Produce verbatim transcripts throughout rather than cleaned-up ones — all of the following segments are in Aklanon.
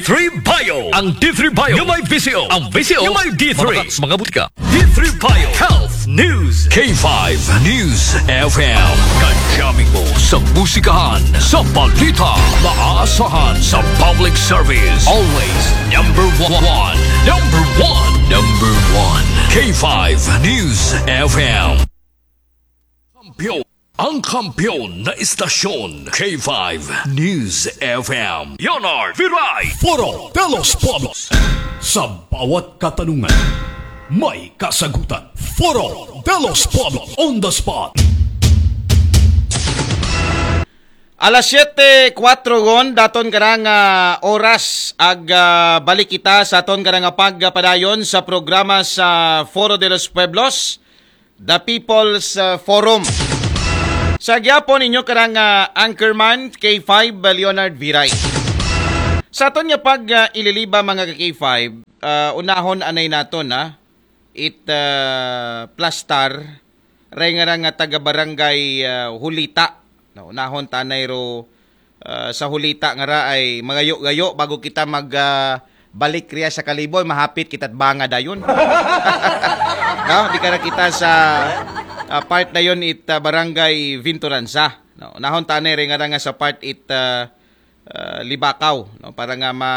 three Bio. Ang D three Bio nga may V C O. Ang V C O nga may D three. Mabakal sa mga butika. D three Bio Health News. K five News F M. Kajami mo sa musikahan, sa balita, maaasahan sa public service. Always number one. Number one. Number one. K five News F M. Kampiyon. Ang kampiyon na istasyon, K five News F M. Leonard Viray. Foro de los Pueblos. Sa bawat katanungan, may kasagutan. Foro de los Pueblos on the spot. Alas siyete kuwatro gon, daton karang ah, oras ag ah, balik kita sa aton karang pagpadayon sa programa sa Foro de los Pueblos, The People's ah, Forum. Sa gyapon inyo karang ah, anchorman, K five Leonard Viray. Sa aton nga pag ah, ililiba, mga ka K five, ah, unahon anay naton, ha, it ah, plastar, ray nga ra nga taga barangay ah, Hulita. No, unahon tanay ro ah, sa Hulita nga ra ay magayo-gayo bago kita mag ah, balik riya sa Kalibo, mahapit kita banga dayon. No, di ka ra kita sa ah, part dayon it ah, barangay Vinturanza. No, unahon tanay ray nga ra nga sa part it ah, ah, Libakaw, no, para nga ma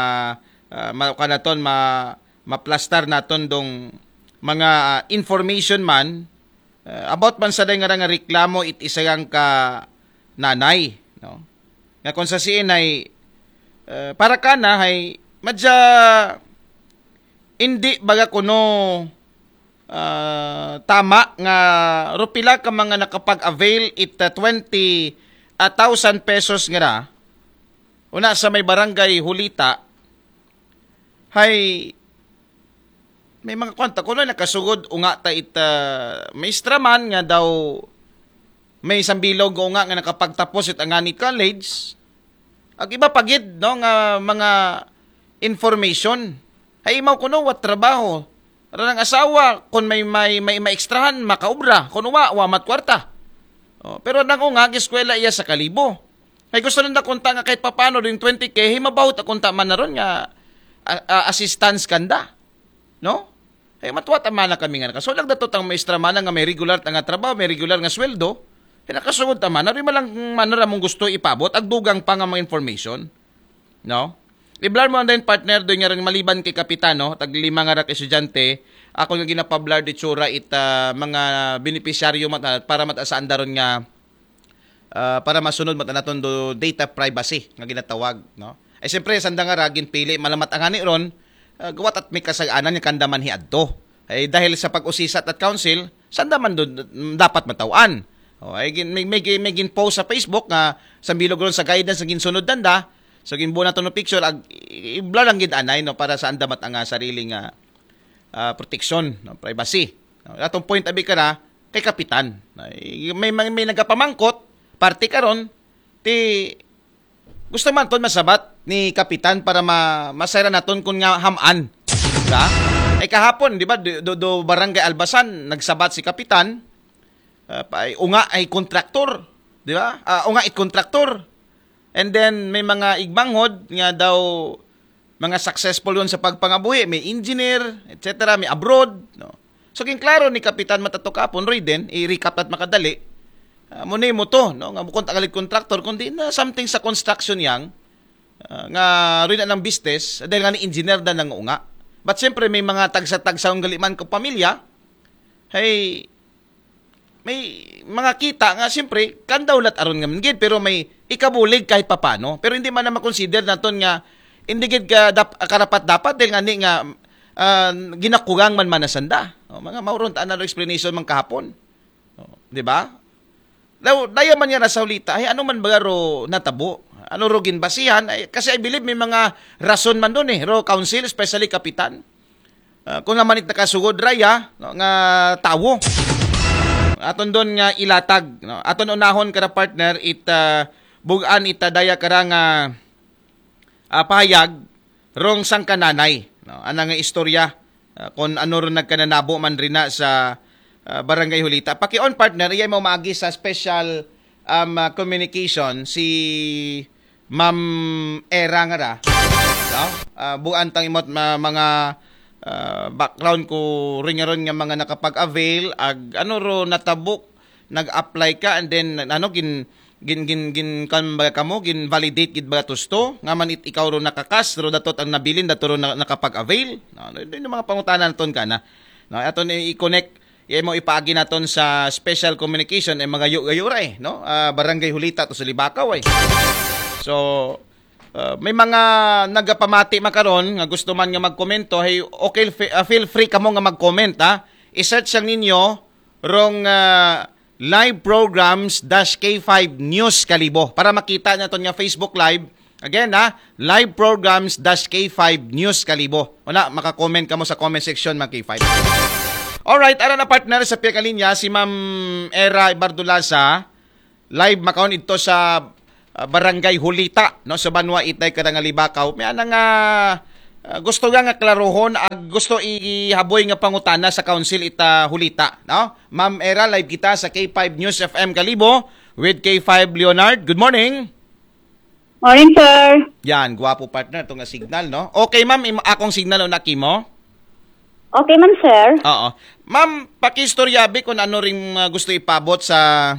ah, ma kanaton ma maplastar naton dong mga ah, information man ah, about man sa day nga ra nga reklamo it isa yang ka nanay, no, nga kung sa siin ay ah, para kana hay madya hindi baga kuno ah, tama nga rupila ka mga nakapag-avail it ah, twenty thousand pesos nga ra una sa may barangay Hulita. Hay may mga kwanta kuno nakasugod unga ta it ah, maestra man nga daw may sambilog nga unga nga nakapagtapos it angani college. Ag iba pa gid, no, nga mga information. Hay imaw kuno wa trabaho. Ranang asawa kun may may may maekstrahan makaobra, kun wa wa mat kwarta. Oh, pero nang unga giskwela iya sa Kalibo. Hay gusto nanda kunta nga kahit papano din twenty K, hay mabawot a kunta man na ron nga a- a- assistance kanda. No? Hay matwa ta man na kami nga nakasulag dato tang maestra man nga may regular ta nga trabaho, may regular nga sweldo. Hay nakasugod ta man na rin malang man na mong gusto ipabot ag dugang pa nga mga information. No? Iblar mo andayon partner do nga rin maliban kay kapitan, no? Tag lima nga rak estudyante, ako nga ginapablar di tsura it ah, mga benepisyaryo mat para mataasaan daron nga ah, para masunod mat naton do data privacy nga ginatawag, no? Ay siyempre sanda nga ra ginpili malamat ang ani ron, ah, gawa't at may kasag-anan nga kanda man hiadto. Ay dahil sa pag-usisa at council, sanda man do dapat mataw-an. O, ay gin, may, may, may ginpost sa Facebook nga sa bilog ron sa guidance nga ginsunod nanda, so ginbuo naton no picture ag i- ibla lang gid anay, no, para sa anda mat ang ah, sarili nga ah, proteksyon, no, privacy. No, atong point abi kara kay kapitan. Ay, may may, may nagapamangkot parte karon ti gusto man ton masabat ni kapitan para ma masayra naton kun nga ham-an. Diba? Ay kahapon, di ba, do, do, do barangay Albasan nagsabat si kapitan, ah, pa- ay, unga ay kontraktor, di ba? Ah, unga it kontraktor. And then may mga igbanghod nga daw mga successful yon sa pagpangabuhi, may engineer, et cetera, may abroad, no. So ginklaro ni Kapitan Matato kapon, Roy din, i-recap at makadali. Ah, mo ni mo to, no, nga bukod tagalig contractor kundi na something sa construction yang ah, nga rin na ng business dahil nga ni engineer da nang unga. But siyempre may mga tagsa-tagsa ang galiman ko pamilya. Hey, may mga kita nga siyempre kandaw lat aron nga man gid pero may ikabulig kahit papano. Pero hindi man na makonsider naton nga hindi gid ka dap, karapat dapat dahil nga ni nga ah, ginakugang man manasanda. O, mga mauron ta ano explanation man kahapon. O, di ba? Daw, daya man nga nasa hulita, ay ano man ba ro natabo? Ano ro ginbasihan? Ay, kasi I believe may mga rason man doon eh, ro council, especially kapitan. Ah, kung naman it nakasugod raya no, nga tawo. Aton doon nga ilatag, no? Aton unahon kada partner it ah, bugan ita daya kara nga ah, pahayag rong sangkananay, no? Ana nga istorya ah, kung ano ron nagkananabo man rin na sa ah, Barangay Hulita. Paki-on partner, iyay mo maagi sa special um, ah, communication si Ma'am Era nga ra. No? Ah, buan tang imot ma-, mga ah, background ko rin nga ron nga mga nakapag-avail, ag ano ro natabok, nag-apply ka, and then ano, gin gin gin gin kan ba kamo, gin validate gid ba tusto nga man it ikaw ro nakakas ro datot ang nabilin dato ro na, nakapag-avail. No, no, no, mga pangutana naton kana. No, aton i-connect, iya mo ipaagi naton sa special communication ay mga yu-, gayura eh, no? Ah, Barangay Hulita to sa Libakaw eh. So, ah, may mga nagapamati makaron nga gusto man nga magkomento, hey, okay, fe-, ah, feel free kamo nga mag-comment ha. I-search ang ninyo rong ah, live programs dash K five News Kalibo para makita naton nga Facebook Live. Again ha, live programs dash K five News Kalibo. Wala, maka-comment kamo sa comment section, mga K five. Alright, ara na partner sa piyakalinya si Ma'am Era Ibardulaza. Live makaon ito sa ah, Barangay Hulita, no, sa Banwa Itay, Karangalibakaw. May ana nga ah, gusto nga nga klarohon, ag gusto ihaboy nga pangutana sa council ita Hulita, no? Ma'am Era, live kita sa K five News F M Kalibo with K five Leonard. Good morning. Morning, sir. Yan, gwapo partner, ito nga signal, no? Okay, ma'am, im- akong signal o nakimo? Okay man, sir. Oo. Ma'am, pakistoryabi kung ano ring ah, gusto ipabot sa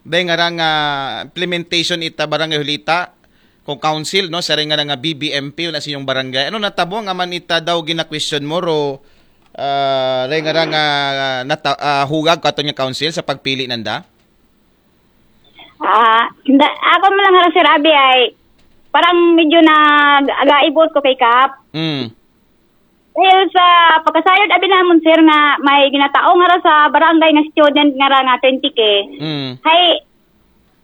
dahil nga rang ah, implementation ita Barangay Hulita kung council, no, sa ring nga rang ah, B B M P, wala sa inyong barangay. Ano natabo nga man ita daw gina-question mo ro ah, dahil nga rang ah, nata- ah, hugag katon nga council sa pagpili nanda? Ah, da, ako mo lang nga, sir, abi ay parang medyo nag-agaibot ko kay Kap. Mm. Dahil sa pagkasayod abi namon, sir, nga may ginatao nga ra sa barangay nga student nga ra nga twenty K. Mm. Hay,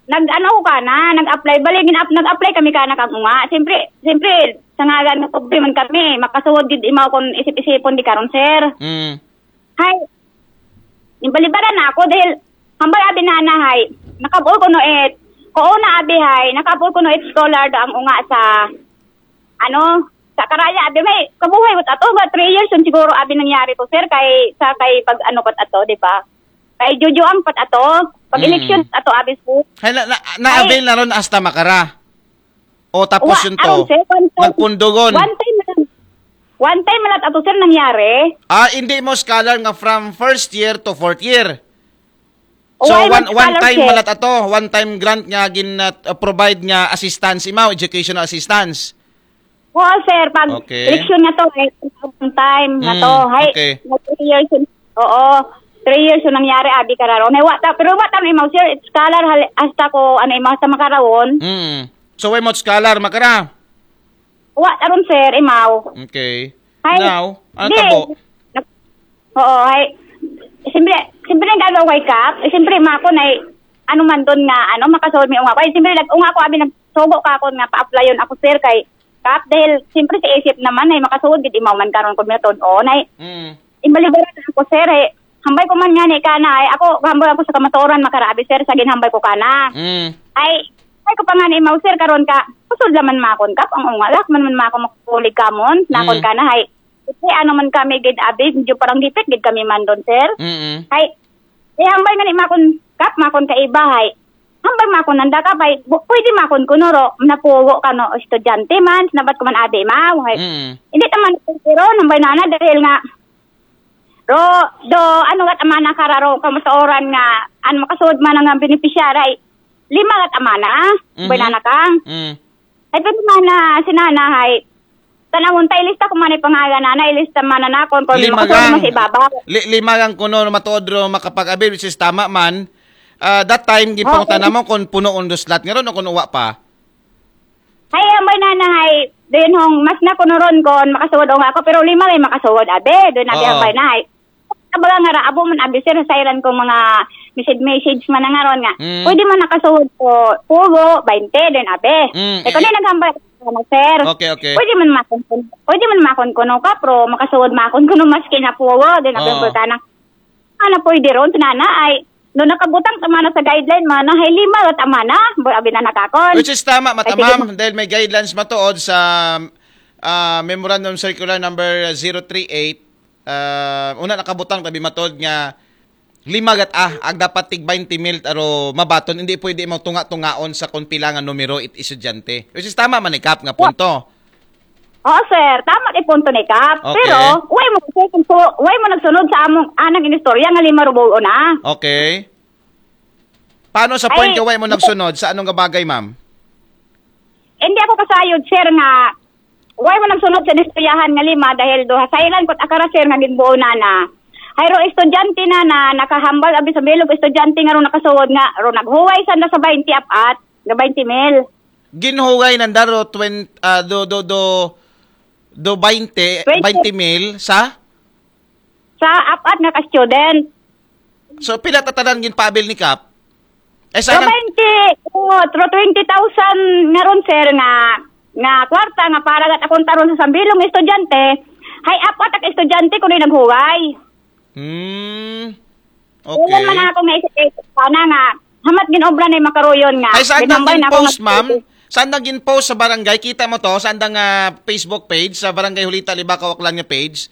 nag-ano ko kana, nag-apply, bali gin-up, nag-apply kami kana kang unga. Siyempre, siyempre sa ngalan nga pobre man kami, makasuod gid imaw kon isip-isipon di karon, sir. Mm. Hay, imbalibaran na ako dahil hambal abi nana hay, nakabol ko no it, ko na abi hay, nakabol ko no it scholar do ang unga sa, ano, sa karaya abi may kabuhay mo ato nga three years yun siguro abi nangyari to, sir, kay sa kay pag ano pat ato, di ba? Kay Jojo ang pat ato, pag Mm. election ato abi, sir. Hay na, na, na-avail na ron hasta makara. O tapos Wa, yun aron, to. sir, one time, Nagpundogon. One time lang. One time lang ato, sir, nangyari. Ah, hindi mo scholar nga from first year to fourth year. So, Why one, not one scholar, time sir? Malat ato, one time grant nga gin uh, provide nga assistance imaw, educational assistance. Oo, sir, pag Okay. election nga to, eh, one time nga Mm, to. Hay, okay. na three years yun. Oo, three years yung nangyari, abi kararon. Hay, wa ta, pero wa ta na imaw, sir, it's scholar, hal- hasta ko, ano, imaw, sa makarawon. Mm. So, why mo scholar makara? Wa ta ron, sir, imaw. Okay. Hay, Now, ang di. tabo. Oo, hay. Siyempre, siyempre ang gagawa kay Kap, eh, siyempre, mako na, ano man doon nga, ano, makasuod may unga ko. Ay, siyempre, nag-unga ko, abi, nagsugo ka ako nga pa-applyon ako, sir, kay Kap, dahil, siyempre, sa isip naman, ay makasuod, gid imaw man karon ko, Milton, o, nay, Mm. imbalibaran ako, sir, eh, hambay ko man nga ni kana, ay, ako, hambay ako sa kamatuoran, makarabi, sir, sa ginhambay ko kana. Mm. Ay, ay ko pa nga ni imaw, sir, karon ka, kusod laman makon, Kap, ang unga, lak man man mako makukulig kamon, nakon Mm. kana, hay, kasi ano man kami, gid, abi, medyo parang dipit, gid kami man doon, sir. Mm. Hay, eh, hambay nga ni makon, Kap, makon ka iba, hay. Hambay makon nanda, Kap, hay. Bu- pwede makon kuno ro, napugo ka no, estudyante man, sinabat ko man abi, ma, hay. Mm. Hindi naman, pero, hambay nana, dahil nga, ro, do, ano kat amana kararo, kamatuoran nga, ano makasuod man nga beneficiary, lima kat amana, Mhm. hambay nana kang. Mm. Ay, pero mana, si nana, hay, tanawon ta, ilista ko man ay pangalan, nana, ilista man na nakon, kung Lima makasuod gang. man sa ibabaw. Li- lima gang kuno matuod ro makapag-avail, which is tama man. Ah, that time, gipangutana Oo. mo kung puno undo slot nga ron o kung uwa pa. Hay, hambay nana, hay, doon hong, mas na kuno ron kon makasuod o nga ako, pero lima may makasuod, abi, doon abi Oo. hambay na, hay. Kabaga nga ra, abo man, abi, sir, sa iran kong mga message, message man nga ron nga. Mm. Pwede man nakasuod ko, pugo, bainte, doon abi. Mm, Eh, kung eh, naghambay, ano, sir. Okay, okay. Pwede man makon, pwede man makon kuno ka, pero makasuod makon kuno mas kinapugo, doon abi, Oo. ang pagkana. Ano, pwede ron, sa nana, ay, no, nakabutang sa mana sa guideline, mana, hay lima, kat amana, bo, abi na nakakon. Which is tama, Ay, sige, matamam, dahil may guidelines matuod sa ah, Memorandum Circular number zero three eight, ah, una nakabutang tabi matuod nga lima gat ah, ag dapat tig twenty mil aro mabaton, hindi pwede mo tunga-tungaon sa kung pila nga numero it estudyante. Which is tama man ni Kap nga punto. Oo, sir. Tama ni punto ni Kap. Okay. Pero, way mo, way mo nagsunod sa among anang inistorya nga lima rubuo na. Okay. Paano sa point Ay, nga way mo nagsunod? Sa anong bagay, ma'am? Hindi ako kasayod, sir, nga way mo nagsunod sa inistoryahan nga lima dahil duha. Sa ilan ko akara, sir, nga ginbuo na na. Hay ro estudyante na na nakahambal abi sa bilog estudyante nga ro nakasuod nga ro naghuway sanda sa twenty apat nga twenty mil. Ginhuway nanda ro twenty, ah, do, do, do, do twenty, Twenty. twenty mil sa? Sa apat nga ka-student. So, pila tatanan ginpabil ni Kap? Eh, So, sana, twenty, oh, tro twenty thousand nga ron, sir, nga nga kwarta nga para gat akong taron sa sambilong estudyante, hay apat ang estudyante kuno naghuway. Hmm. Ulan man Okay. ako nga isip sana nga hamat ginobra na yung makaruyon nga. Ay, saan nang Ginambay na ako gin-post, nga- ma'am? Saan nang gin-post sa barangay? Kita mo to? Saan nang ah, Facebook page? Sa Barangay Hulita, Libacao, Aklan nga page?